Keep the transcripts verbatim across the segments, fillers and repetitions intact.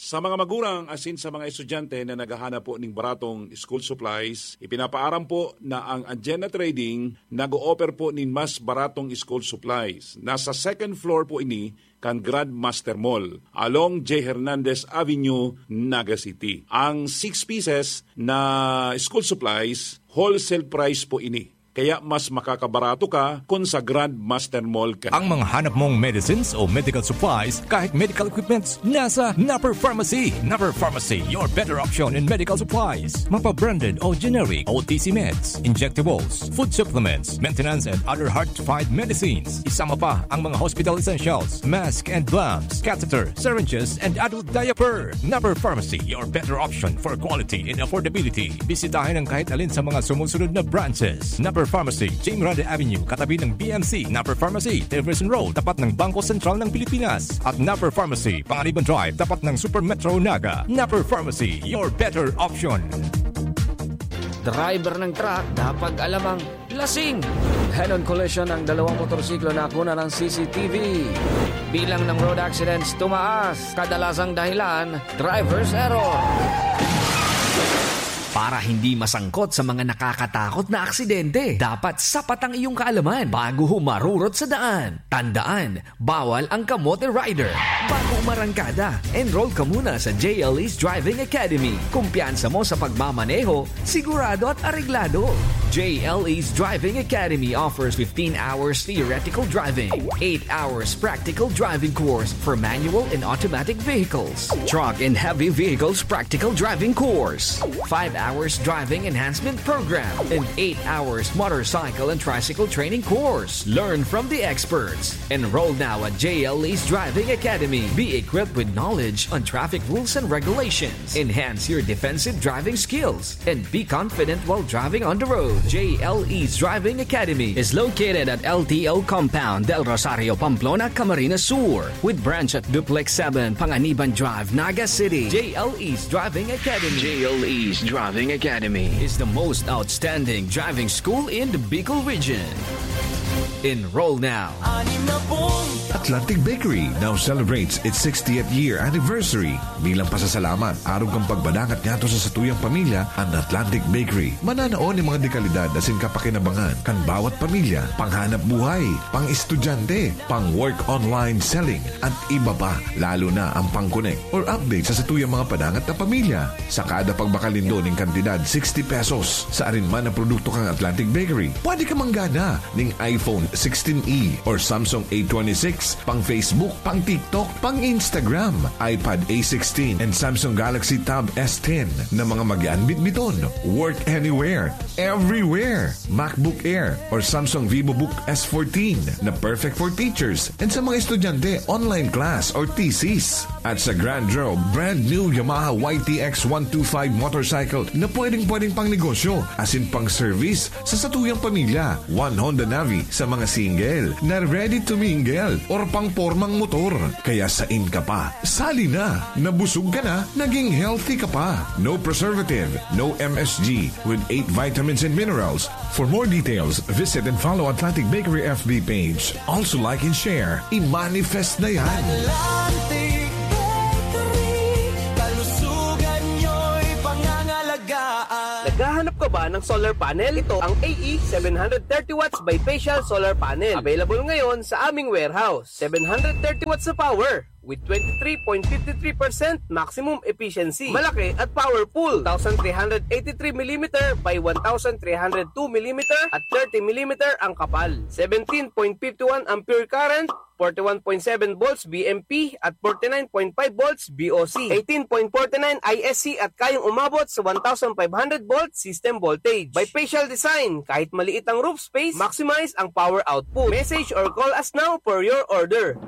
Sa mga magurang asin sa mga estudyante na naghahanap po ning baratong school supplies, ipinapaaram po na ang Anjena Trading nag-o-offer po nin mas baratong school supplies. Nasa second floor po ini kan Grandmaster Mall, along J Hernandez Avenue, Naga City. Ang six pieces na school supplies, wholesale price po ini. Kaya mas makakabarato ka kun sa Grandmaster Mall ka. Ang mga hanap mong medicines o medical supplies, kahit medical equipments, nasa Napper Pharmacy. Napper Pharmacy, your better option in medical supplies. Mapa-branded o generic, O T C meds, injectables, food supplements, maintenance and other hard-to-find medicines. Isama pa ang mga hospital essentials, mask and gloves, catheter, syringes, and adult diaper. Napper Pharmacy, your better option for quality and affordability. Bisitahin ang kahit alin sa mga sumusunod na branches. Napper Pharmacy, Jim Grande Avenue, katabi ng B M C. Napper Pharmacy, Jefferson Road, tapat ng Bangko Sentral ng Pilipinas. At Napper Pharmacy, Panganiban Drive, tapat ng Super Metro Naga. Napper Pharmacy, your better option. Driver ng truck, dapat alamang lasing. Head-on collision ng dalawang motorsiklo na nakuna ng C C T V. Bilang ng road accidents tumaas. Kadalasang dahilan, driver's error. Para hindi masangkot sa mga nakakatakot na aksidente, dapat sapat ang iyong kaalaman bago humarurot sa daan. Tandaan, bawal ang kamote rider. Bago umarangkada, enroll ka muna sa J L E's Driving Academy. Kumpiyansa mo sa pagmamaneho, sigurado at areglado. J L E's Driving Academy offers fifteen hours theoretical driving, eight hours practical driving course for manual and automatic vehicles, truck and heavy vehicles practical driving course, five hours driving enhancement program, and eight hours motorcycle and tricycle training course. Learn from the experts. Enroll now at J L E's Driving Academy. Be equipped with knowledge on traffic rules and regulations. Enhance your defensive driving skills and be confident while driving on the road. J L E's Driving Academy is located at L T O Compound, Del Rosario, Pamplona, Camarines Sur, with branch at Duplex seven, Panganiban Drive, Naga City. J L E's Driving Academy. J L E's Driving Academy is the most outstanding driving school in the Bicol region. Enroll now. Atlantic Bakery now celebrates its sixtieth year anniversary. Bilang pasasalamat, arog kan pagpadangat niyato sa satuyang pamilya, an Atlantic Bakery mananao nin mga dekalidad asin kapakinabangan kan bawat pamilya, panghanap buhay, pang-estudyante, pang-work online selling, at iba pa, lalo na ang pang-connect or update sa satuyang mga padangat na pamilya. Sa kada pagbakal nindo nin kantidad sixty pesos sa arin man na produkto kan Atlantic Bakery, pwede ka manggana ning iPhone sixteen E or Samsung A twenty-six, pang Facebook, pang TikTok, pang Instagram, iPad A sixteen, and Samsung Galaxy Tab S ten na mga magian bitbiton. Work anywhere, everywhere. MacBook Air or Samsung VivoBook S fourteen na perfect for teachers and sa mga estudyante, online class or thesis. At sa Grand Draw, brand new Yamaha Y T X one two five motorcycle na pwedeng-pwedeng pang negosyo, asin pang service sa satuyang pamilya. One Honda Navi sa mga single na ready to mingle or pang pormang motor. Kaya sain ka pa? Sali na! Nabusog ka na, naging healthy ka pa. No preservative, no M S G, with eight vitamins and minerals. For more details, visit and follow Atlantic Bakery F B page. Also like and share. I-manifest na yan! Atlantic Bakery, kalusugan nyo'y pangangalagaan. Naghahanap ka ba ng solar panel? Ito ang A E seven hundred thirty watts bifacial solar panel. Available ngayon sa aming warehouse. Seven hundred thirty watts na power with twenty-three point fifty-three percent maximum efficiency. Malaki at powerful. Two thousand three hundred eighty-three millimeter by one thousand three hundred two millimeter at thirty millimeter ang kapal. Seventeen point fifty-one ampere current, forty-one point seven volts V M P at forty-nine point five volts V O C, eighteen point forty-nine I S C at kayang umabot sa one thousand five hundred volt system voltage. Bifacial design, kahit maliit ang roof space, maximize ang power output. Message or call us now for your order.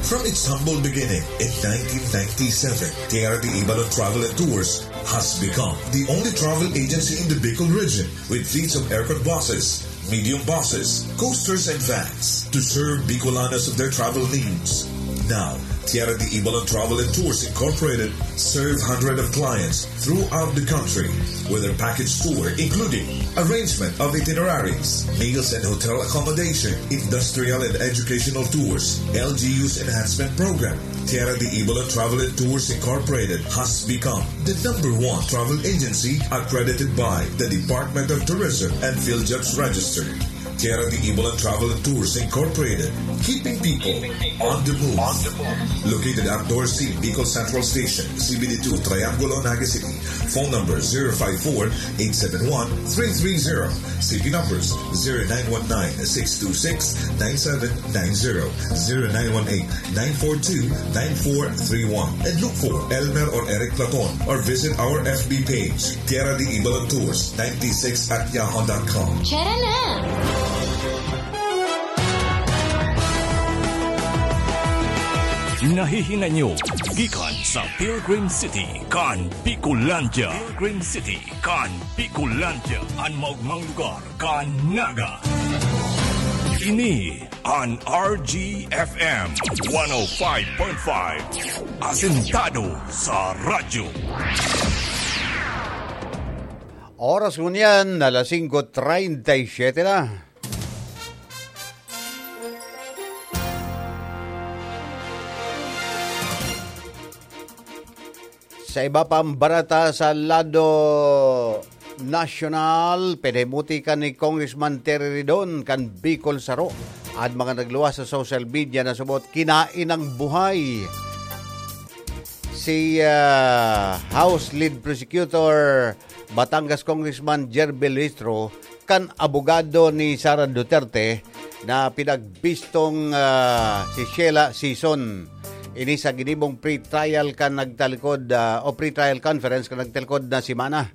From its humble beginning in nineteen ninety-seven, K R D Ibalon Travel and Tours has become the only travel agency in the Bicol region with fleets of aircon buses, medium buses, coasters, and vans to serve Bicolanos of their travel needs. Now, Tierra de Ibalan Travel and Tours Incorporated serve hundreds of clients throughout the country with their package tour, including arrangement of itineraries, meals and hotel accommodation, industrial and educational tours, L G U's enhancement program. Tierra de Ibalan Travel and Tours Incorporated has become the number one travel agency accredited by the Department of Tourism and PhilJobs Register. Tierra de Ibalan Travel and Tours Incorporated, keeping people on the move. Located at Dorsey, Bicol Central Station, C B D two, Triangulo, Naga City. Phone number zero five four, eight seven one, three three zero. C P numbers zero nine one nine, six two six, nine seven nine zero, zero nine one eight, nine four two, nine four three one. And look for Elmer or Eric Platon or visit our F B page, Tierra de Ibalan Tours ninety-six at yahoo dot com. Tara na! Nahihinanyo gikan sa Pilgrim City kan Bicolandia. Pilgrim City kan Bicolandia, an maogmang lugar kan Naga. Ini an R G F M one oh five point five, asentado sa radyo. Oras ngunyan, alas singko treinta y siete na. Sa iba pang bareta sa lado nasyonal, pinahimuti kan ni Congressman Terry Ridon kan Bicol Saro, an mga nagluwas sa social media na subot kinain ang buhay si, ah, House Lead Prosecutor Batangas Congressman Jerby Luistro kan abogado ni Sara Duterte na pinagbistong, ah, si Sheila Sison. Ini sa ginibong pre-trial kan nagtalikod, ah, o pre-trial conference kan nagtalikod na semana.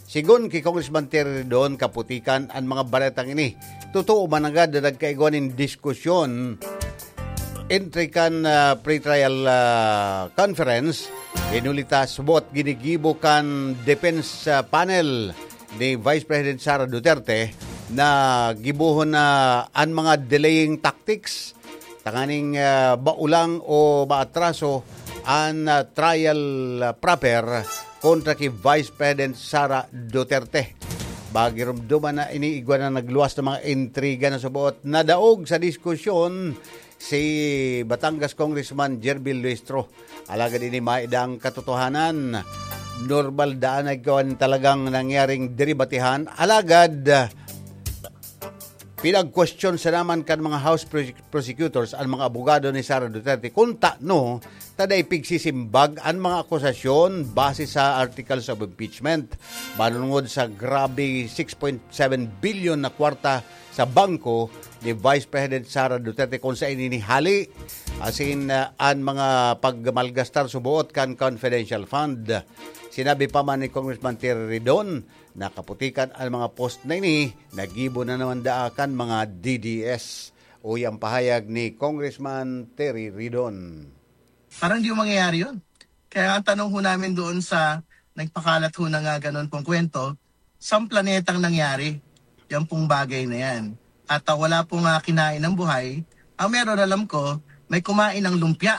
Sigon ki Congressman Terry Ridon, kaputikan an mga baretang ini. Totoo man nanggad na nagkaigwa nin diskusyon entry kan, ah, pre-trial, ah, conference, hinuli ta subot ginigibo kan defense, ah, panel ni Vice President Sara Duterte na gibohon na an mga delaying tactics tanganing, ah, baulang o maatraso an, ah, trial, ah, proper kontra ki Vice President Sara Duterte. Bagirumduman na ini igwa na nagluwas na mga intriga na subot. Nadaog sa diskusyon si Batangas Congressman Jervil Luistro. Alagad ini maidang katotohanan. Normal daan na igwa nin talagang nangyaring debatihan. Alagad, pinag-question sa naman kan mga House prose-, prosecutors an mga abogado ni Sara Duterte kung tano ta dai pigsisimbag an mga akusasyon base sa articles of impeachment manongod sa grabe six point seven billion na kwarta sa bangko ni Vice President Sara Duterte, kung saen ini hali, asin, ah, an mga pagmalgastar suboot kan confidential fund. Sinabi pa man ni Congressman Terry Ridon, nakaputikan an mga post na ini, nagibo na naman daa kan mga D D S. Uya ang pahayag ni Congressman Terry Ridon. Parang di mangyayari yun. Kaya ang tanong ho namin doon sa nagpakalat ho ng, ah, ganun pong kwento, saang planetang nangyari yan pong bagay na yan? At, ah, wala pong, ah, kinain ng buhay. Ang meron, alam ko, may kumain ng lumpia.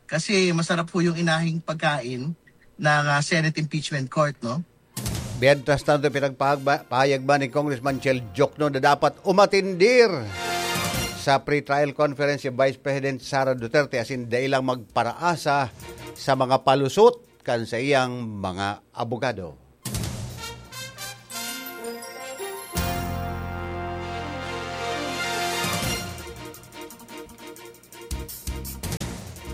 Kasi masarap ho yung inahing pagkain ng, ah, Senate Impeachment Court, no? Mientras tanto, pinagpahagba-, pahayag man ni Congressman Chel Diokno na dapat umatendir sa pre-trial conference si Vice President Sara Duterte asin dai lang magparaasa sa mga palusot kan saiyang mga abogado.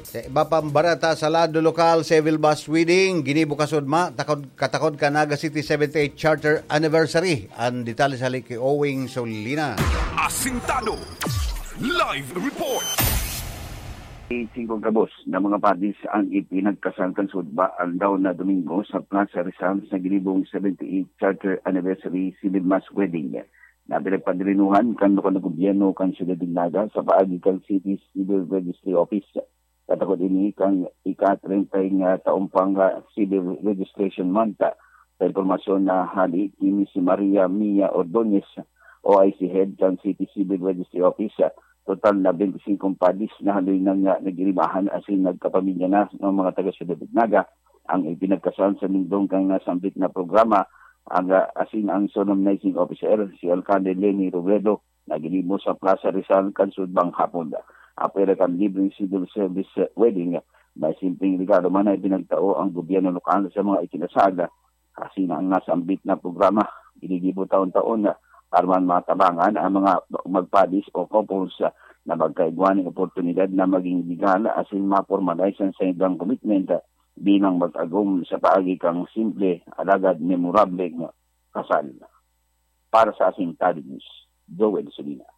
Sa iba pang bareta sa lado lokal, civil mass wedding, ginibo kasudma, takod, katakod kan Naga City seventy-eighth Charter Anniversary. Ang detalye sa hali ki Owing Solina. Asintado. Live report. Singkong gabos na mga padis ang ipinagkasal kan sudma aldaw na Domingo sa Plaza Rizal sa ginibong seventy-eighth Charter Anniversary Civil Mass Wedding na pinagpadirinuhan kan lokal na gobyerno kan Siyudad nin Naga sa paagi kan City Civil Registry Office. Katakod ini kan ika-treinta nga taon pang, ah, Civil Registration Month. Sa impormasyon na hali ki Miss Maria Mia Ordonez, O I C Head kan City Civil Registry Office, ah, total na twenty-five padis na haloy nang, ah, nag-iribahan asin nagkapamilya na ng mga taga Ciudad Naga ang ipinagkasal sa lindong kan nasambit na programa. Ang, ah, asin ang solemnizing officer, si Alcalde Leni Robredo, na ginibo sa Plaza Rizal kan sudbang hapon. Apwera kan libreng civil service wedding, may simpleng regalo man na ipinagtao ang gobyerno lokal sa mga ikinasal. Kasi na ang nasambit na programa, ginigibo taon-taon na para man matabangan ang mga magpadis o couples na magkaigwa nin oportunidad na maging legal asin ma-formalize ang saindang commitment bilang mag-agom sa paagi kan simple alagad memorableng kasal. Para sa Asintado News, Joel Solina.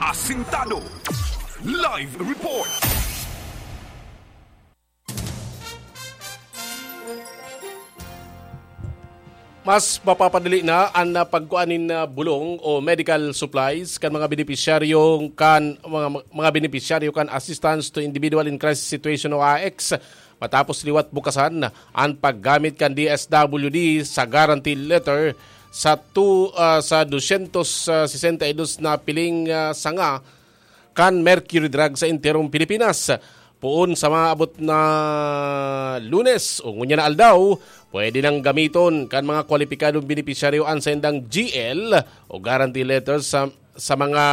Asintado Live Report. Mas mapapadali na an, ah, pagkua nin, ah, bulong o medical supplies kan mga benepisyaryo kan mga, mga benepisyaryo kan Assistance to Individual in Crisis Situation o AICS, matapos liwat bukasan an paggamit kan D S W D sa guarantee letter sa tu, ah, sa dosyentos sesenta y dos na piling, ah, sanga kan Mercury Drug sa enterong Pilipinas. Poon sa mga abot na Lunes o ngunyan na aldaw, pwede nang gamiton kan mga kwalipikadong benepisyaryo an saindang G L o guarantee letter sa, sa mga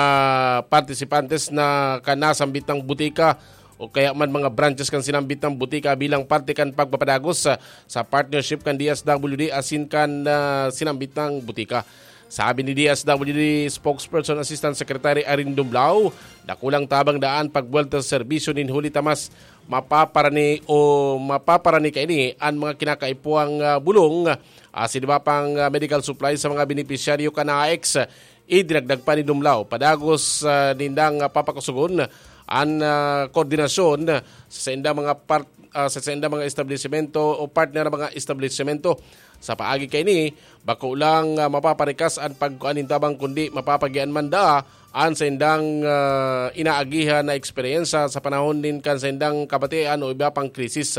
partisipantes na kan nasambit na butika o kaya man mga branches kan sinambit na butika bilang parte kan pagpapadagos sa, sa partnership kan D S W D asin kan, ah, sinambit na butika. Sabi ni D S W D Spokesperson Assistant Secretary Irene Dumblao, dakulang tabang daa an pagbuwelta sa serbisyo nin huli ta mas mapaparani o mapaparani kaini an mga kinakaipuhang, ah, bulong, ah, asin iba pang, ah, medical supplies sa mga benepisyaryo kan AICS. Idinagdag pa ni Dumblao, padagos, ah, nindang, ah, papakusugon an, ah, koordinasyon sa saindang mga part-, ah, sa saindang mga establisimento o partner na mga establisimento. Sa paagi kaini, bako lang, ah, mapaparikas an pagkua nin tabang kundi mapapagian man daa an saindang, ah, inaagihan na eksperyensya sa panahon nin kan saindang kabatian o iba pang krisis.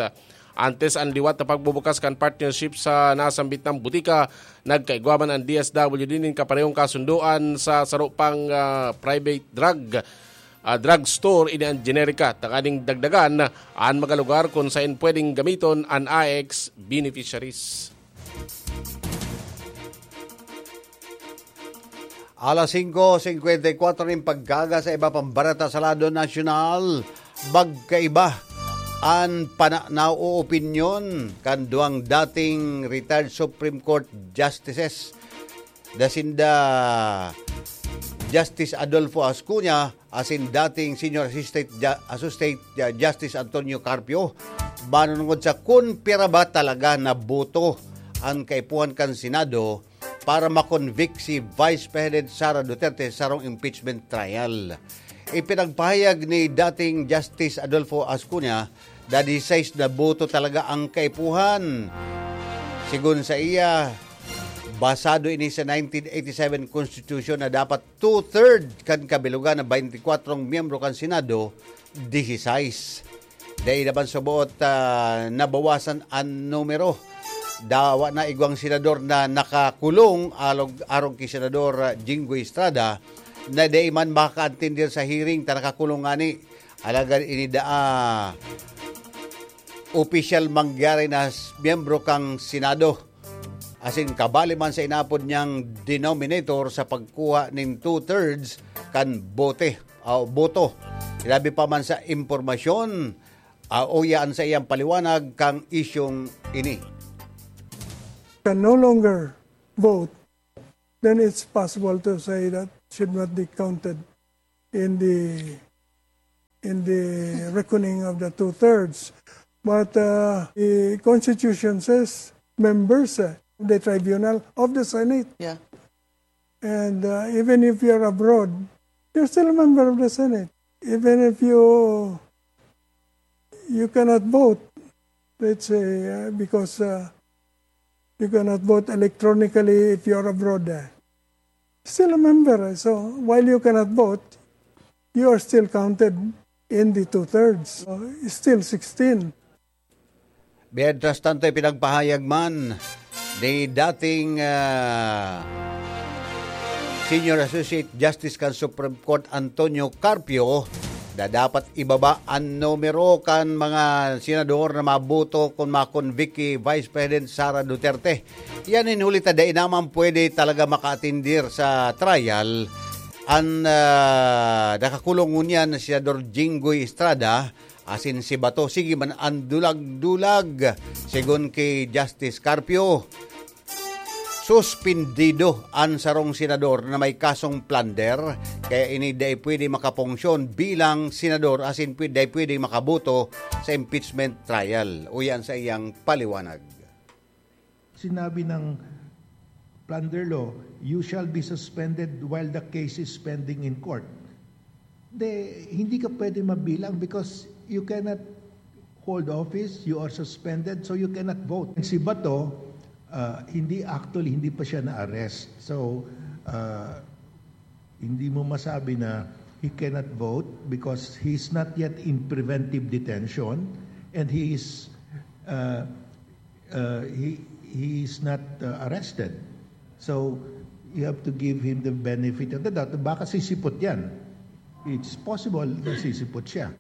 Antes an liwat na pagbubukas kan partnership sa nasambit na butika, nagkaigwa man an D S W D nin kaparehong kasundoan sa saro pang, ah, private drug, ah, drug store, ini an generika, tanganing dagdagan an mga lugar kun saen pwedeng gamiton an AICS beneficiaries. Alas singko singkwenta y kwatro nin pagkaga sa iba pang bareta sa lado nasyonal, magkaiba an pananaw o opinyon kan duwang dating retired Supreme Court Justices, da sinda Justice Adolfo Ascuña asin dating Senior Assistant, Ju- Associate Ju- Justice Antonio Carpio, manunungod sa kun pira ba talaga na boto ang kaipuhan kan Senado para ma-convict si Vice President Sara Duterte sa sarong impeachment trial. Ipinagpahayag ni dating Justice Adolfo Ascuña na disisais na boto talaga ang kaipuhan. Sigon sa iya, basado ini sa nineteen eighty-seven Constitution na dapat two-third kan kabilugan na baynti kwatro miyembro kan Senado, disisais. Dai naman suboot, ah, nabawasan an numero. Dawa na igwang senador na nakakulong alog, arog ki Senador, ah, Jinggoy Estrada na dai man makakaantindir sa hearing ta nakakulong ngani. Alagad ini daa opisyal mangyari na s- miyembro kan Senado. Asin kabali man sa inapod niyang denominator sa pagkuha nin two-thirds kan bote, ah, boto. Ilabi pa man sa impormasyon, ah, uya an saiyang paliwanag kan isyung ini. Can no longer vote, then it's possible to say that should not be counted in the in the reckoning of the two-thirds. But uh, the Constitution says members uh, of the tribunal of the Senate. Yeah. And uh, even if you're abroad, you're still a member of the Senate. Even if you you cannot vote, let's say, uh, because uh, you cannot vote electronically if you're abroad. Uh, still a member. So while you cannot vote, you are still counted in the two-thirds. So it's still sixteen. Mientras tanto, ipinagpahayag man ni dating ah, Senior Associate Justice kan Supreme Court Antonio Carpio na dapat ibaba an numero kan mga senador na maboto kun ma-convict ki Vice President Sara Duterte. Yan in huli ta dai naman pwede talaga makaatindir sa trial an, ah, nakakulong ngunyan na Senador Jinggoy Estrada asin si Bato. Sige man an dulag-dulag, segun ki Justice Carpio. Suspindido an sarong senador na may kasong plunder, kaya ini dai pwede makapunksyon bilang senador asin pwe-, dai pwede makaboto sa impeachment trial. Uyan sa iyang paliwanag. Sinabi ng plunder law, "You shall be suspended while the case is pending in court." De, hindi ka pwede mabilang because you cannot hold office, you are suspended, so you cannot vote. Si Bato, ah, hindi, actually, hindi pa siya na-arrest. So, ah, hindi mo masabi na he cannot vote because he's not yet in preventive detention and he is, ah, ah, he, he is not, ah, arrested. So, you have to give him the benefit of the doubt. Baka sisipot yan. It's possible na sisipot siya.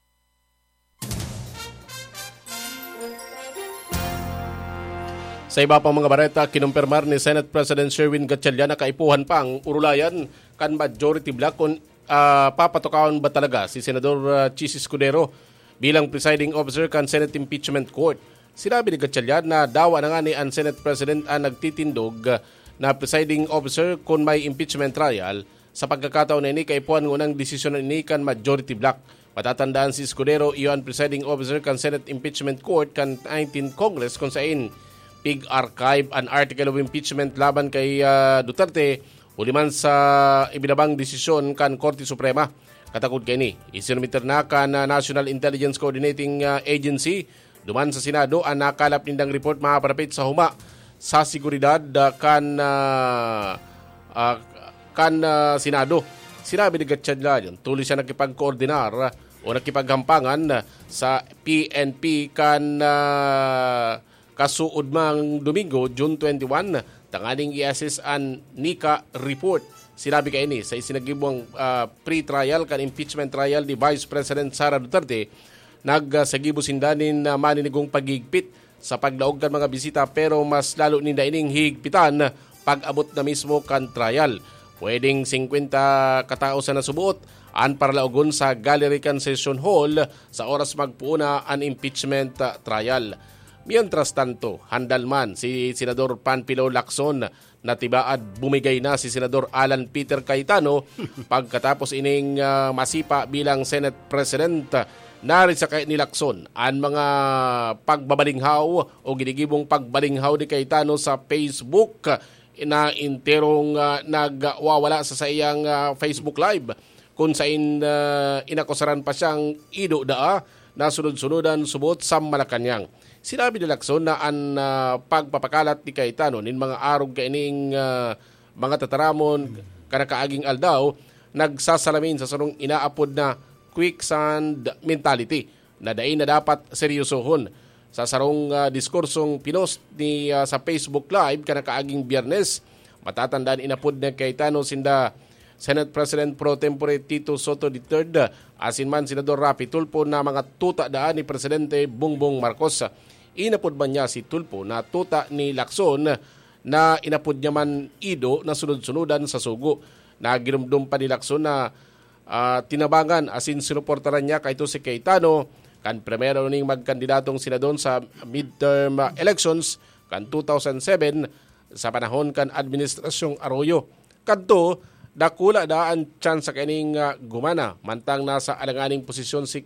Sa iba pang mga bareta, kinumpirmar ni Senate President Sherwin Gatchalian na kaipuhan pang urulayan kan majority bloc kun, ah, papatukahon ba talaga si Senador, ah, Chiz Escudero bilang presiding officer kan Senate Impeachment Court. Sinabi ni Gatchalian na dawa na ngani an Senate President an nagtitindog, ah, na presiding officer kun may impeachment trial. Sa pagkakataon na ini, kaipuhan ngunang desisyon ini kan majority bloc. Matatandaan, si Escudero iyo an presiding officer kan Senate Impeachment Court kan nineteenth Congress, kun sain pig-archive an article of impeachment laban kay, ah, Duterte, huli man sa ibinabang desisyon kan Korte Suprema. Katakod kaini, isinumiter na kan, ah, National Intelligence Coordinating, ah, Agency duman sa Senado an nakalap nindang report maparapit sa huma sa seguridad, ah, kan, ah, ah, kan, ah, Senado. Sinabi ni Gatchalian, tuloy siya nakipagkoordinar, ah, o nakipaghampangan, ah, sa P N P kan, ah, kasuodmang Domingo, June twenty-one, tanganing i-assess an Nika report. Sinabi kaini sa isinagibong, ah, pre-trial kan impeachment trial ni Vice President Sara Duterte, nagsagibo sinda nin, ah, maninigong paghigpit sa paglaog kan mga bisita, pero mas lalo ninda ining hihigpitan pag-abot na mismo kan trial. Pwedeng singkwenta katao sana subuot an paralaogon sa gallery kan session hall sa oras magpoon na an impeachment, ah, trial. Mientras tanto, handal man si Senador Panfilo Lacson na tibaad bumigay na si Senador Alan Peter Cayetano pagkatapos ining, ah, masipa bilang Senate President. Narisakay ni Lacson an mga pagbabalinghaw o ginigibong pagbalinghaw ni Cayetano sa Facebook na enterong, ah, nagwawala sa saiyang, ah, Facebook Live, kun sain, ah, inakusaran pa siyang ido daa na sunod-sunudan subot sa Malacañang. Sinabi ni Lacson na an, ah, pagpapakalat ni Cayetano nin mga arog kaining, ah, mga tataramon kan nakaaging aldaw nagsasalamin sa sarong inaapod na quicksand mentality na dai na dapat seryosohon. Sa sarong, ah, diskursong pinost ni, ah, sa Facebook Live kan nakaaging Biyernes, matatandaan inapod ni Cayetano sinda Senate President pro tempore Tito Sotto the third, asin man Senador Raffy Tulfo na mga tuta daan ni Presidente Bongbong Marcos. Inapod man niya si Tulfo na tuta ni Lacson na inapod niya man ido na sunod-sunudan sa sugo. Nagirumdom pa ni Lacson na, ah, tinabangan asin sinuportaran niya kaito si Cayetano kan primero ning magkandidatong senador sa midterm, ah, elections kan two thousand seven sa panahon kan Administrasyong Arroyo. Kadto, dakula daa an tsansa kaining, ah, gumana, mantang nasa alanganing posisyon si